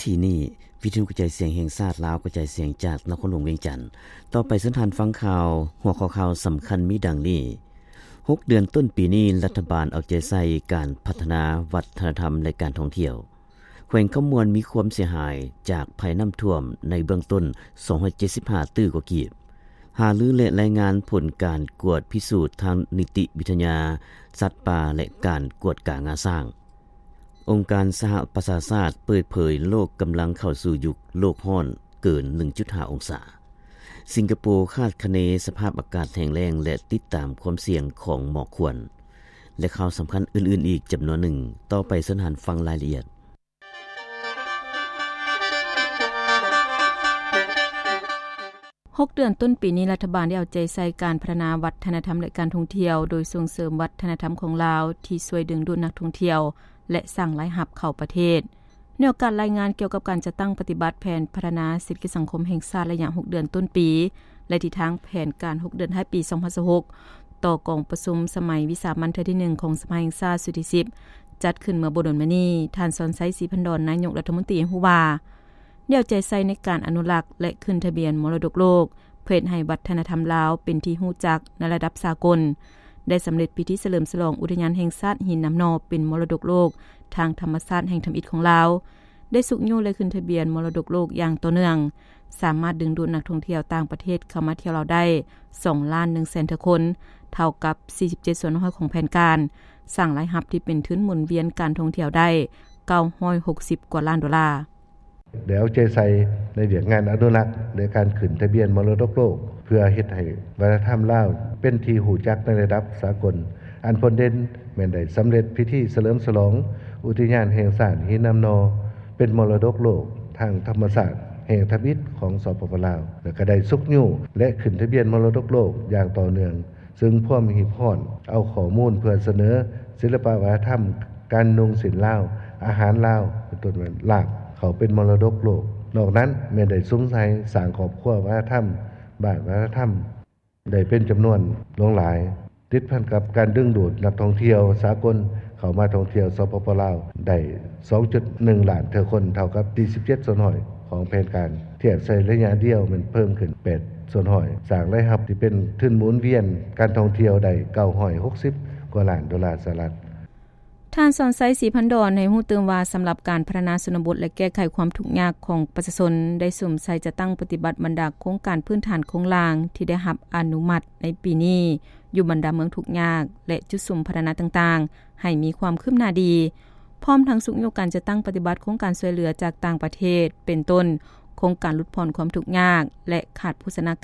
ກີ້ນີ້ ວິທະຍຸກະຈາຍສຽງແຫ່ງຊາດລາວ ກະຈາຍສຽງຈາກນະຄອນຫຼວງວຽງຈັນ. ຕໍ່ໄປເຊີນທ່ານຟັງຂ່າວ ຫົວຂໍ້ຂ່າວສຳຄັນມີດັ່ງນີ້: ຫົກເດືອນຕົ້ນປີນີ້ ລັດຖະບານເອົາໃຈໃສ່ການພັດທະນາວັດທະນະທຳ ແລະ ການທ່ອງທ່ຽວ. ແຂວງຄຳມ່ວນມີຄວາມເສຍຫາຍຈາກໄພນ້ຳຖ້ວມໃນເບື້ອງຕົ້ນ ສອງຮ້ອຍເຈັດສິບຫ້າຕື້ກວ່າກີບ. ຫາລື ແລະ ລາຍງານຜົນການກວດພິສູດທາງນິຕິວິທະຍາສັດປ່າ ແລະ ການກວດກາງາຊ້າງ. ອົງການສະຫະປະຊາຊາດເປີດເຜີຍໂລກກຳລັງເຂົ້າສູ່ຍຸກໂລກຮ້ອນເກີນໜຶ່ງຈຸດຫ້າອົງສາ. ສິງກະໂປຄາດຄະເນສະພາບອາກາດແຫ້ງແລ້ງ ແລະ ຕິດຕາມຄວາມສ່ຽງຂອງໝອກຄວັນ ແລະ ຂ່າວສຳຄັນອື່ນໆອີກຈຳນວນໜຶ່ງ. ຕໍ່ໄປເຊີນທ່ານຟັງລາຍລະອຽດ. ຫົກເດືອນຕົ້ນປີນີ້ ລັດຖະບານໄດ້ເອົາໃຈໃສ່ການພັດທະນາວັດທະນະທຳ ແລະ ການທ່ອງທ່ຽວ ໂດຍສົ່ງເສີມວັດທະນະທຳຂອງລາວ ທີ່ຊ່ວຍດຶງດູດນັກທ່ອງທ່ຽວ ແລະ ສ້າງລາຍຮັບເຂົ້າປະເທດ. ໃນໂອກາດລາຍງານກ່ຽວກັບການຈັດຕັ້ງປະຕິບັດແຜນພັດທະນາເສດຖະກິດສັງຄົມແຫ່ງຊາດໄລຍະຫົກເດືອນຕົ້ນປີ ແລະ ທິດທາງແຜນການຫົກເດືອນທ້າຍປີສອງພັນຊາວຫົກ ຕໍ່ກອງປະຊຸມສະໄໝວິສາມັນເທື່ອທີໜຶ່ງຂອງສະພາແຫ່ງຊາດຊຸດທີສິບ ຈັດຂຶ້ນເມື່ອບໍ່ດົນມານີ້, ທ່ານ ສອນໄຊ ສີພັນດອນ ນາຍົກລັດຖະມົນຕີ ໃຫ້ຮູ້ວ່າ ແນວໃຈໃສ່ໃນການອະນຸລັກ ແລະ ຂຶ້ນທະບຽນມໍລະດົກໂລກ ເພື່ອເຮັດໃຫ້ວັດທະນະທຳລາວເປັນທີ່ຮູ້ຈັກໃນລະດັບສາກົນ, ໄດ້ສຳເລັດພິທີສະເຫຼີມສະຫຼອງອຸທະຍານແຫ່ງຊາດຫີນນ້ຳໜໍ່ເປັນມໍລະດົກໂລກທາງທຳມະຊາດແຫ່ງທຳອິດຂອງລາວ, ໄດ້ຊຸກຍູ້ ແລະ ຂຶ້ນທະບຽນມໍລະດົກໂລກຢ່າງຕໍ່ເນື່ອງ, ສາມາດດຶງດູດນັກທ່ອງທ່ຽວຕ່າງປະເທດເຂົ້າມາທ່ຽວລາວໄດ້ ສອງລ້ານໜຶ່ງແສນເທື່ອຄົນ, ເທົ່າກັບ ສີ່ສິບເຈັດສ່ວນຮ້ອຍຂອງແຜນການ, ສ້າງລາຍຮັບທີ່ເປັນທຶນໝູນວຽນການທ່ອງທ່ຽວໄດ້ ເກົ້າຮ້ອຍຫົກສິບກວ່າລ້ານໂດລາ. ໄດ້ເອົາໃຈໃສ່ໃນວຽກງານອະນຸລັກ ແລະ ການຂຶ້ນທະບຽນມໍລະດົກໂລກ ເພື່ອເຮັດໃຫ້ວັດທະນະທຳລາວເປັນທີ່ຮູ້ຈັກໃນລະດັບສາກົນ. ອັນພົ້ນເດັ່ນແມ່ນໄດ້ສຳເລັດພິທີສະເຫຼີມສະຫຼອງອຸທິຍານແຫ່ງຊາດຫີນນ້ຳໜໍ່ ເປັນມໍລະດົກໂລກທາງທຳມະຊາດແຫ່ງທຳອິດຂອງ ສປປ ລາວ ແລະ ກໍໄດ້ຊຸກຍູ້ ແລະ ຂຶ້ນທະບຽນມໍລະດົກໂລກຢ່າງຕໍ່ເນື່ອງ. ເຊິ່ງພວມຮີບຮ້ອນເອົາຂໍ້ມູນເພື່ອສະເໜີສິລະປະວັດທະນະທຳ ການນຸ່ງສິ້ນລາວ, ອາຫານລາວ ເປັນຕົ້ນວ່າລາບ ເຂົ້າເປັນມໍລະດົກໂລກ. ນອກນັ້ນແມ່ນໄດ້ສຸມໃສ່ສ້າງຄອບຄົວວັດທະນະທຳ, ບ້ານວັດທະນະທຳ ໄດ້ເປັນຈຳນວນຫຼວງຫຼາຍ, ຕິດພັນກັບການດຶງດູດນັກທ່ອງທ່ຽວສາກົນເຂົ້າມາທ່ອງທ່ຽວ ສປປ ລາວ ໄດ້ ສອງຈຸດໜຶ່ງລ້ານເທື່ອຄົນ, ເທົ່າກັບ ສີ່ສິບເຈັດສ່ວນຮ້ອຍຂອງແຜນການ, ທຽບໃສ່ໄລຍະດຽວແມ່ນເພີ່ມຂຶ້ນ ແປດສ່ວນຮ້ອຍ, ສ້າງລາຍຮັບທີ່ເປັນທຶນໝູນວຽນການທ່ອງທ່ຽວໄດ້ ເກົ້າຮ້ອຍຫົກສິບກວ່າລ້ານໂດລາສະຫະລັດ. ທ່ານ ສອນໄຊ ສີພັນດອນ ໃຫ້ຮູ້ຕື່ມວ່າ ສຳລັບການພັດທະນາຊົນນະບົດ ແລະ ແກ້ໄຂຄວາມທຸກຍາກຂອງປະຊາຊົນ ໄດ້ສຸມໃສ່ຈັດຕັ້ງປະຕິບັດບັນດາໂຄງການພື້ນຖານໂຄງລ່າງທີ່ໄດ້ຮັບອະນຸມັດໃນປີນີ້ ຢູ່ບັນດາເມືອງທຸກຍາກ ແລະ ຈຸດສຸມພັດທະນາຕ່າງໆ ໃຫ້ມີຄວາມຄືບໜ້າດີ, ພ້ອມທັງຊຸກຍູ້ການຈັດຕັ້ງປະຕິບັດໂຄງການຊ່ວຍເຫຼືອຈາກຕ່າງປະເທດ ເປັນຕົ້ນ ໂຄງການຫຼຸດຜ່ອນຄວາມທຸກຍາກ ແລະ ຂາດໂພຊະນາການ